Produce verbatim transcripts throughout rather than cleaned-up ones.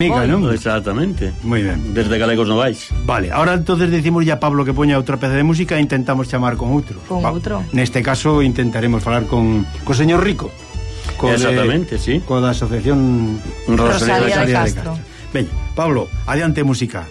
Amiga, non? Exactamente. Moi ben. Desde Galegos Novais. Vale, ahora entonces decimos ya a Pablo que poña outra peza de música e intentamos chamar con outro. Con Va, outro. Neste caso intentaremos falar con co señor Rico. Co Exactamente, de, sí. Co da asociación Rosalía, Rosalía de Castro. Ben, Pablo, adiante música.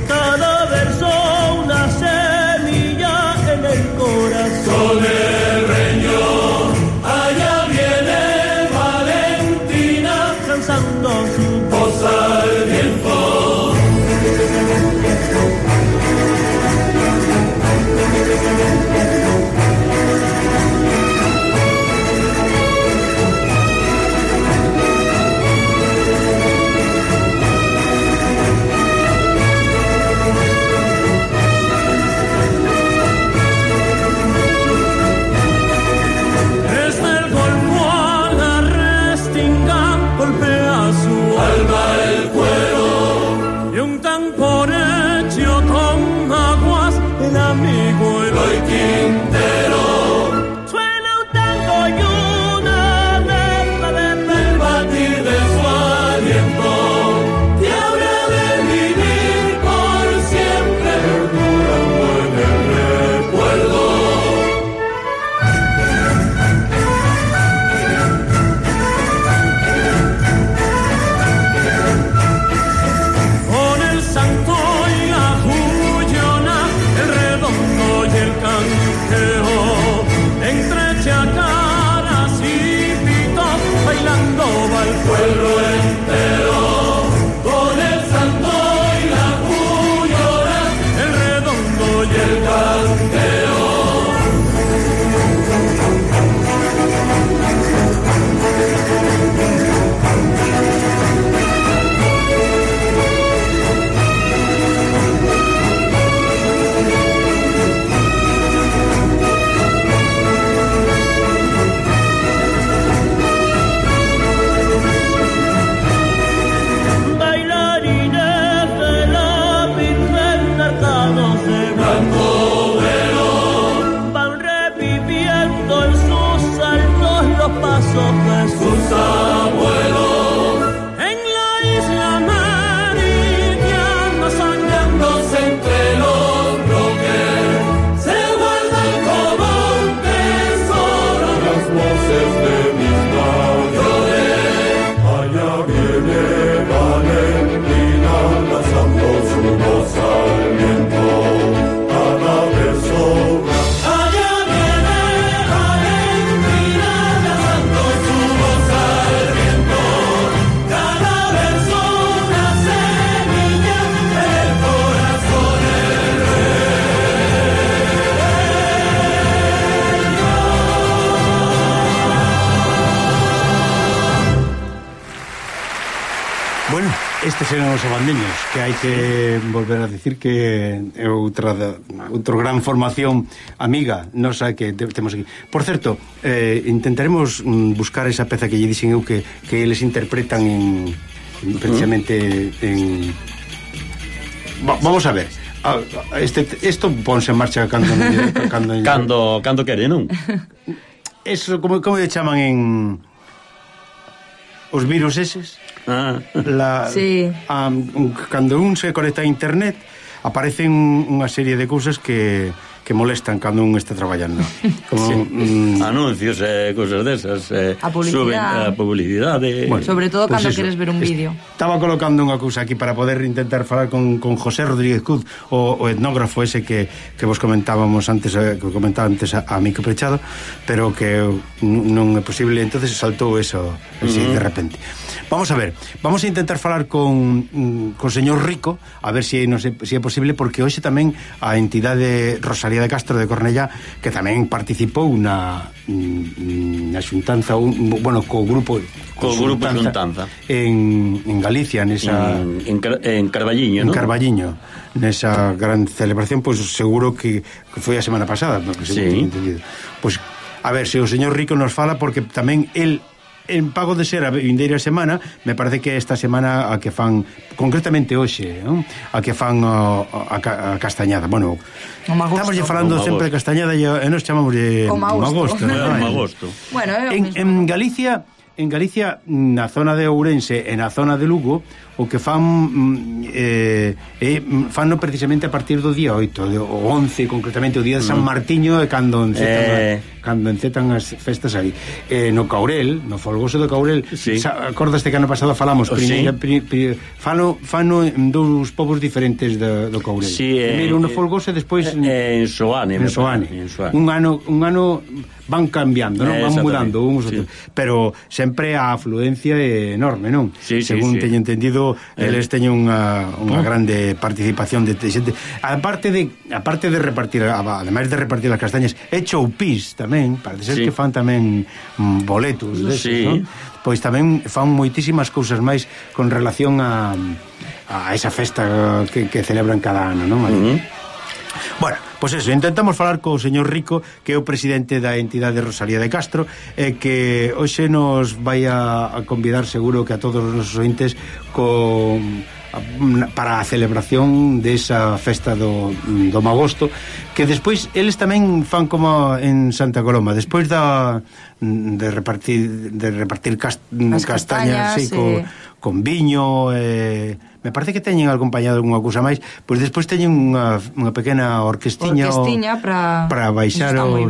Cada verso una semilla en el corazón del reño. Allá viene Valentina lanzando su voz al viento. Estes eran os abandeños, que hai que volver a decir que é outra outro gran formación amiga nosa que temos aquí. Por certo, eh, intentaremos buscar esa peza que lle dixen eu que, que eles interpretan en, precisamente en... Va, vamos a ver. Este, esto ponse en marcha cando cando cando, cando quere, non? Eso, como, como lle chaman en... os virus eses? Ah. La, sí. um, cando un se conecta a internet aparecen unha serie de cousas que, que molestan cando un está traballando, como sí. mm, anuncios e eh, cousas desas, eh, a publicidade, a publicidade. Bueno, sobre todo pues cando eso, queres ver un vídeo. Estaba colocando unha cousa aquí para poder intentar falar con, con José Rodríguez Cuz, o, o etnógrafo ese que, que vos comentábamos antes, que comentaba antes a, a Mico Prechado, pero que non é posible, entonces saltou eso así uh-huh. de repente. Vamos a ver, vamos a intentar falar con con señor Rico, a ver se si, no sé, si é posible, porque hoxe tamén a entidade Rosalía Rosalía de Castro de Cornellá, que tamén participou na na xuntanza, un, bueno, co grupo co grupo xuntanza en, en Galicia, nesa en, en, en Carballiño, en ¿no? Carballiño, nesa gran celebración, pois pues, seguro que, que foi a semana pasada, sí. Pois pues, a ver se o señor Rico nos fala, porque tamén el en pago de ser a vindeira semana, me parece que esta semana a que fan, concretamente hoxe, ¿no? A que fan a, a, a castañada. Bueno, estamos ya falando sempre de castañada e nos chamamos de magosto, ¿no? Magosto. Bueno, en, en Galicia, en Galicia, na zona de Ourense e na zona de Lugo, o que fan eh, eh, fanno precisamente a partir do día oito, o once concretamente, o día de San Martiño, e cando encetan, eh... a, cando encetan as festas aí. Eh, no Caurel, no folgoso do Caurel, sí. Acordaste que ano pasado falamos, oh, primeira, sí. pri, pri, fano, fano en dous povos diferentes do, do Caurel. Sí, eh, primeiro no folgoso e despois eh, en Soane. En Soane. Un ano, un ano van cambiando, non? Van mudando uns sí. outros, pero sempre a afluencia é enorme, non? Sí, Según sí, sí. teño entendido, eles teñen unha, unha oh. grande participación de xente. Aparte de aparte de repartir, ademais de repartir as castañas, é choupís tamén, parece ser sí. que fan tamén mm, boletos deses, sí. non? Pois tamén fan moitísimas cousas máis con relación a a esa festa que, que celebran cada ano, non? Uh-huh. Bueno, pois eso, intentamos falar co señor Rico, que é o presidente da entidade Rosalía de Castro, e que hoxe nos vai a, a convidar seguro que a todos os nosos ointes con, a, para a celebración desa festa do, do Magosto, que despois eles tamén fan como en Santa Coloma, despois da de repartir de repartir cast, castañas, castañas sí, sí. Co, con viño, eh, me parece que teñen acompañado algunha cousa máis, pois despois teñen unha, unha pequena orquestiña orquestiña para para baixar os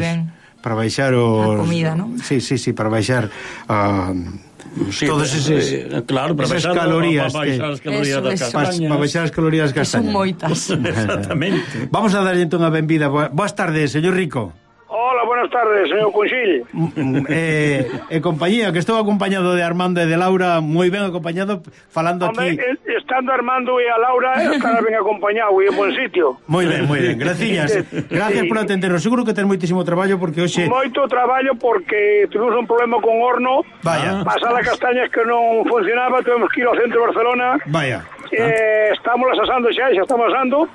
para baixar os a comida, ¿no? Sí, sí, sí, para baixar a uh, sí, todos eses eh, claro, para esas baixar, calorías, para baixar as calorías das castañas. Para baixar as calorías das castañas. Son moitas. Exactamente. Vamos a darlle entón a benvida. Boas tardes, señor Rico. Hola, buenas tardes, señor Conxil. Eh, eh, compañía, que estou acompañado de Armando e de Laura, moi ben acompañado, falando Hombre, aquí. Estando Armando e a Laura, estará ben acompañado e en buen sitio. Moi ben, moi ben, graciñas. Gracias por atendernos. Seguro que ten moitísimo traballo porque hoxe... Moito traballo porque tuvimos un problema con horno. Vaya. Pasar as castañas que non funcionaba, tuvemos que ir ao centro de Barcelona. Vaya. Eh, estamos asando xa, xa estamos asando.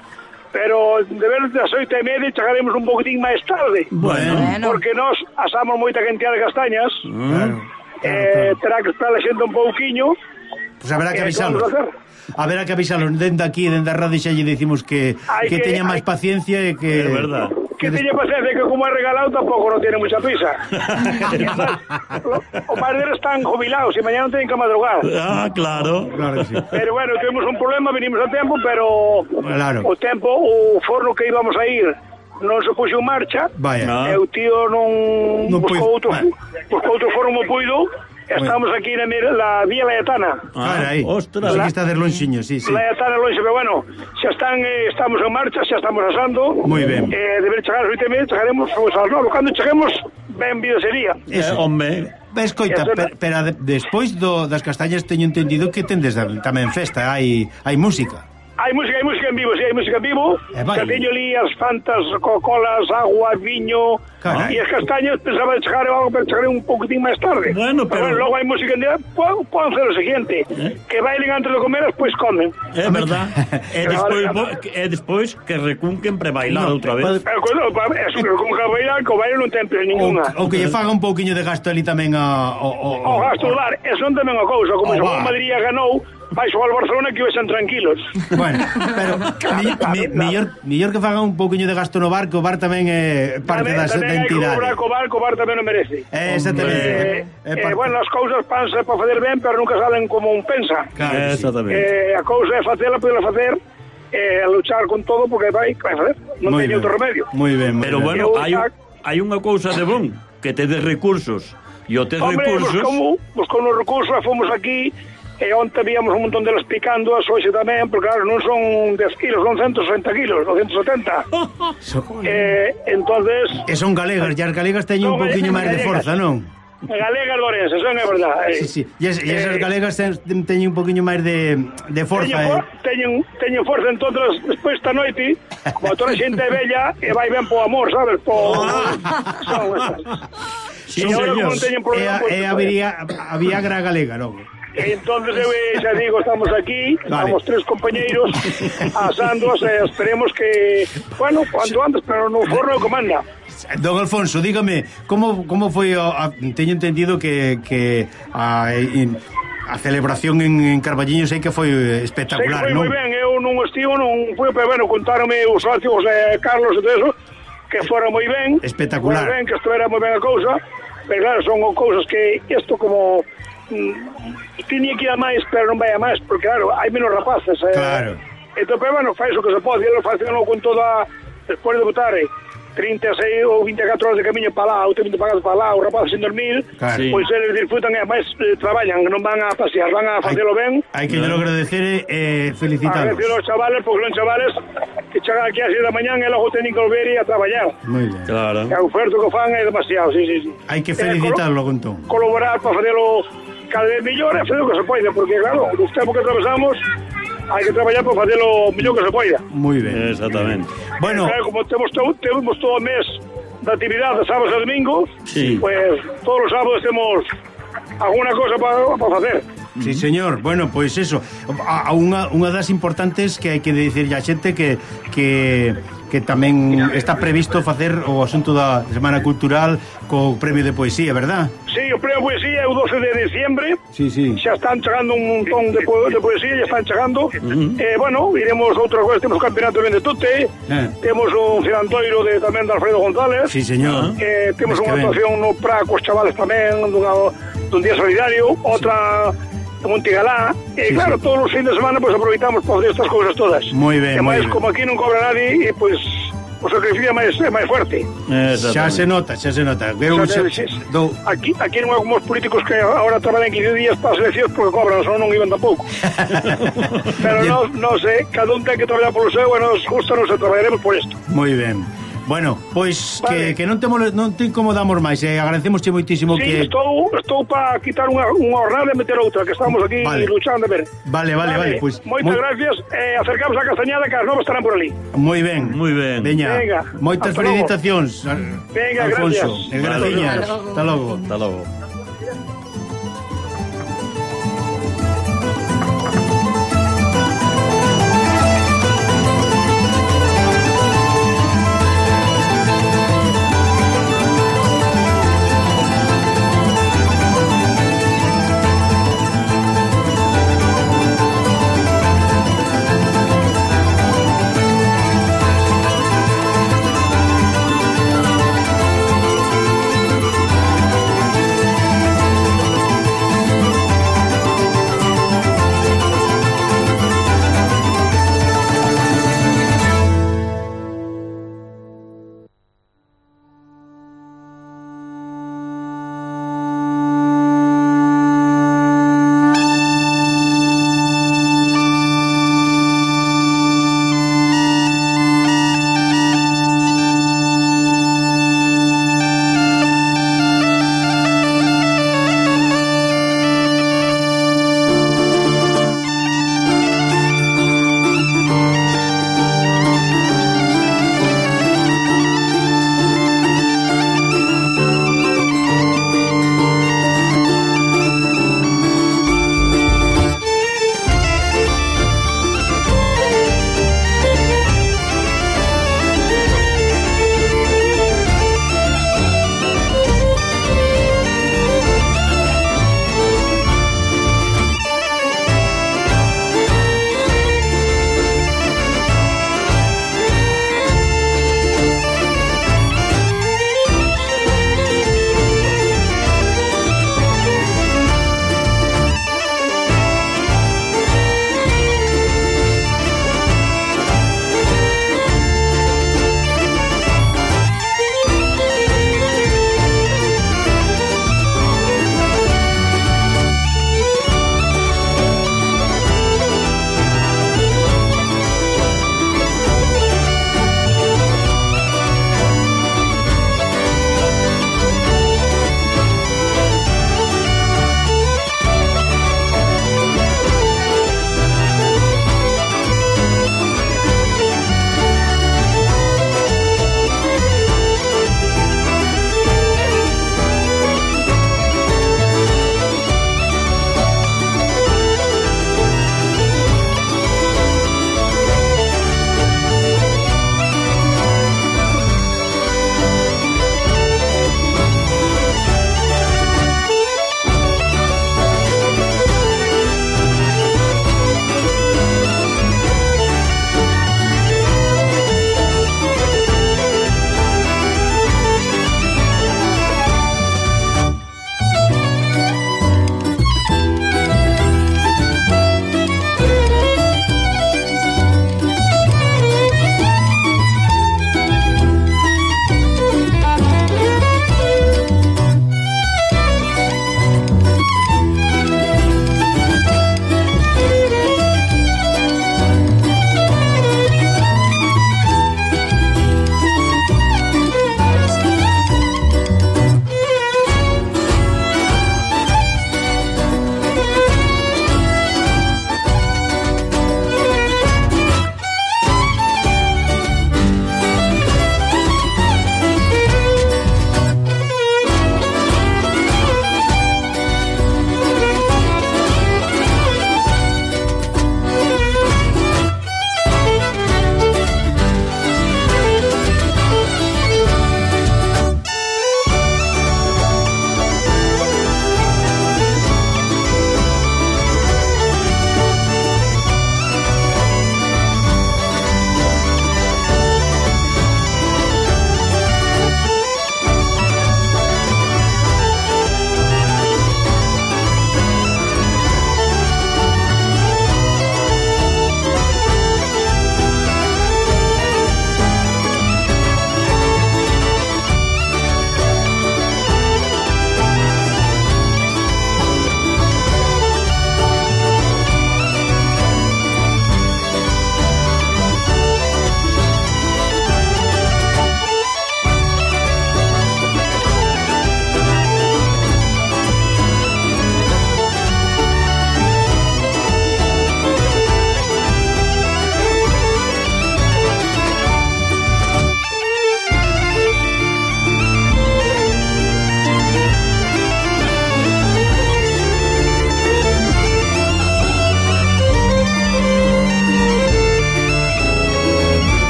Pero de ver das oito e media chegaremos un poquitín máis tarde. Bueno. Porque nós asamos moita cantidad de castañas. Claro. Eh, terá que estar lexendo un pouquiño. Pois pues haberá que avisalos. Haberá que avisalos dende aquí, dende a radio, xa lle dicimos que, que, que teña máis paciencia e que... É verdad. Que teña paciencia, que como é regalado tampouco non tiene mucha prisa. Os padres están jubilados e mañana non teñen que madrugar. Ah, claro. Claro que sí. Pero bueno, tuvimos un problema, vinimos a tempo, pero claro. O tempo, o forno que íbamos a ir non se puxo en marcha. Vaya. E o tío non, non buscou outro, buscou outro forno mo puido. Estamos aquí na la Vía Layetana. Ah, aí. Ostras, aquí está de lonxiño, sí, sí. Layetana lonxe, pero bueno, xa están, eh, estamos en marcha, xa estamos asando. Moi ben. Eh, deber chegar ás oito e media, chegaremos pues, ás nove. Cando cheguemos, ben vida sería. Eso. Eh, hombre. Escoita, pero, pero de, despois do, das castañas teño entendido que tendes tamén festa, hai hai música. Hai música, hai música en vivo, sí, hai música en vivo. Eh, vale. Que teño ali as fantas, Coca-Colas, agua, viño. Carai. E as castañas pensaba de chegar algo, pero chegaré un poquitín máis tarde. Bueno, pero... pero bueno, logo hai música en día, poden ser o seguinte, ¿Eh? Que bailen antes de comer, despois comen. É verdad. E despois, e despois que recunquen pre bailar no, outra vez. Pero cuando, eso que recunca bailar, que o baile non ten ninguna. O, o que lle faga un pouquiño de gasto ali tamén a... O, o, o, o gasto do bar, eso non tamén a cousa, como o Madrid ganou, vai xogar ao Barcelona que vexan tranquilos. Bueno, pero mi, mi, millor, millor que faga un pouquiño de gasto no bar, que o bar tamén é parte da entidade. Tamén hai que cobrar co bar, co bar tamén non merece. Eh, exactamente. Eh, eh, eh, bueno, as cousas panse para fazer ben, pero nunca salen como un pensa. Claro, eh, exactamente. Eh, a cousa é facela, podela facer, eh, a luchar con todo, porque vai, vai facer. Non teño outro remedio. Moi ben, moi pero ben. bueno, hai, hai unha cousa de bon, que tedes recursos. E o tes Hombre, recursos... Hombre, buscamos os recursos, fomos aquí... E onte víamos un montón delas picando as hoxe tamén, porque claro, non son dez kilos, son ciento sesenta kilos, doscientos setenta. So, eh, entonces e son galegas, e as galegas teñen un poquinho máis de forza, non? Galegas de Ourense, eso é verdade. Sí, sí. E, es, e esas Eh, galegas ten, teñen un poquinho máis de, de forza. Teñen, for, eh. teñen, teñen forza, entonces despois esta noite, como toda a xente é bella, e vai ben po amor, sabes? Po... Son esas. Sí, E agora como señor. non teñen E, problema... a, pues, e a Viagra, a Viagra galega, non? E entonces eu eh, xa digo, estamos aquí, Vale. estamos tres compañeiros asándoas e esperemos que, bueno, cuanto antes, pero no forno comanda. Don Alfonso, dígame, como como foi a, a, teño entendido que que a, in, a celebración en, en Carballiño sei que foi espectacular, Sei que foi non? moi ben, eu non estivo, non fui, pero bueno, contaronme os socios, eh, Carlos e todo eso, que fora moi ben. Espectacular. Moi ben, que isto era moi ben a cousa, pero claro, son cousas que isto como mm, tiña que ir a máis, pero non vai a máis, porque claro, hai menos rapaces. Eh, Claro. Entón, pero bueno, faz o que se pode, e lo facen con toda, despois de botar eh, trinta e seis ou vinte e catro horas de camiño para lá, ou trinta pagados para lá, os rapaces sin dormir, Claro. Sí. pois eles disfrutan e máis eh, traballan, non van a pasear, van a facelo ben. Hai que claro. agradecer e eh, felicitarlos. Agradecer aos chavales, porque son chavales que chegan aquí a seis da mañán e logo teñen que volver e a traballar. Moi ben. Claro. E o oferto que fan é demasiado, sí, sí, sí. Hai que Eh, felicitarlo, colo- Gontón. Colaborar para facelo cada vez mellor e facer o que se poida, porque claro, os tempos que atravesamos hai que traballar para facelo mellor que se poida. Moi ben. Exactamente. Bueno, Claro, como temos todo, temos todo o mes de actividade, sábados e domingos, Sí. pues todos os sábados temos alguna cosa para, para facer. sí, señor. Bueno, pois pues eso. A, a unha, unha das importantes que hai que dicirlle a xente que que que tamén está previsto facer o asunto da Semana Cultural co premio de poesía, verdad? Sí, o premio de poesía é o doce de diciembre. Sí, sí. Xa están chegando un montón de, po de poesía, xa están chegando. Eh, bueno, iremos outra vez, temos o campeonato de Tute, Eh. temos un filantoiro de, tamén de Alfredo González, Sí, señor. eh, temos Mes que unha ven. actuación no Pra cos chavales tamén, dunha, dun día solidario, outra de Montigalá, e Sí, claro, sí. todos os fines de semana pues, aproveitamos para fazer estas cousas todas. Moi ben, E moi máis, ben. como aquí non cobra nadie, e pois o sacrificio é máis, é máis fuerte. Xa se nota, xa se nota. Eu O xa, sea, sí, sí. do, Aquí, aquí non hai como os políticos que agora traballan quince días para as eleccións porque cobran, só non iban tampouco. Pero non, non sei, cada un ten que traballar polo seu e nos gusta, nos traballaremos por isto. moi ben. Bueno, pois Vale. que, que non te mole, non te incomodamos máis, eh, agradecemosche moitísimo Sí, que estou, estou para quitar unha, unha jornada e meter outra, que estamos aquí Vale. luchando a ver. Vale, vale, vale, pois Moitas moi- gracias, eh, acercamos a Castañada que as novas estarán por ali. moi ben. Moi ben. Veña. Venga, Moitas hasta logo. felicitacións. Venga, Alfonso. gracias. E graciñas. Hasta logo. Hasta logo. Hasta logo.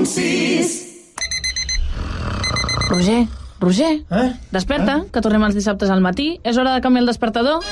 punt sis. Roger, Roger, Eh? desperta, que tornem els dissabtes al matí. És hora de canviar el despertador.